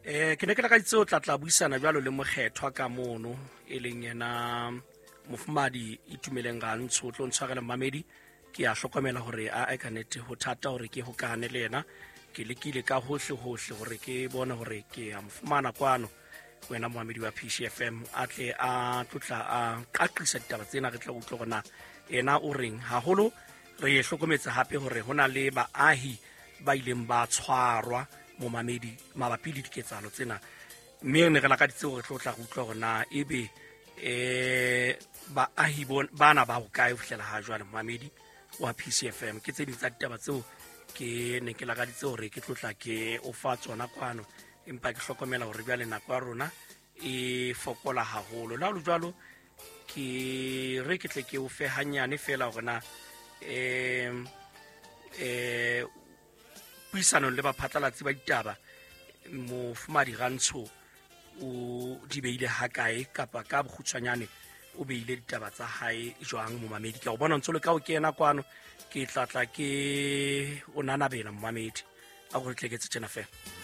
Ke ne ke lakaditse o tla tla buisana jwalo le mokgethwa ka mono, e leng yena mofumadi Itumeleng Rantsho. O tlo ntshwarela mmamedi, ke a hlokomela hore a ka nete ho thata hore ke hokane le yena. Ke lekile ka hohle hohle hore ke bone hore ke a mo fumana kwano, wena moamedi wa PCFM, a tle a tlotla a qaqisa ditaba tsena, re tla utlwe hore na ena o reng. Haholo re hlokometse hape hore ho na le baahi ba ileng ba tshwarwa, momamedi, mabapi le diketsahalo tsena, mme ne re lakaditse hore tlo tla re utlwa hore na ebe baahi bana ba hokae ho fihlela ha jwale, momamedi wa PCFM. Ke tse ding tsa ditaba tseo ke ne ke lakaditse hore ke tlotla ke o fa tsona kwano, empa ke hlokomela hore jwale nako ya rona e fokola haholo. Le ha ho le jwalo, ke re ke tle ke o fe hanyane fela hore na puisanong le baphatlalatsi ba ditaba mofumadi Rantsho o di beile hakae, kapa ka bokgutshwanyane o beile ditaba tsa hae jwang. Momamedi, ke a o bona ntse le ka o kena kwano, ke tlatla ke o nanabela momamedi, a gore tleketse tjena fela.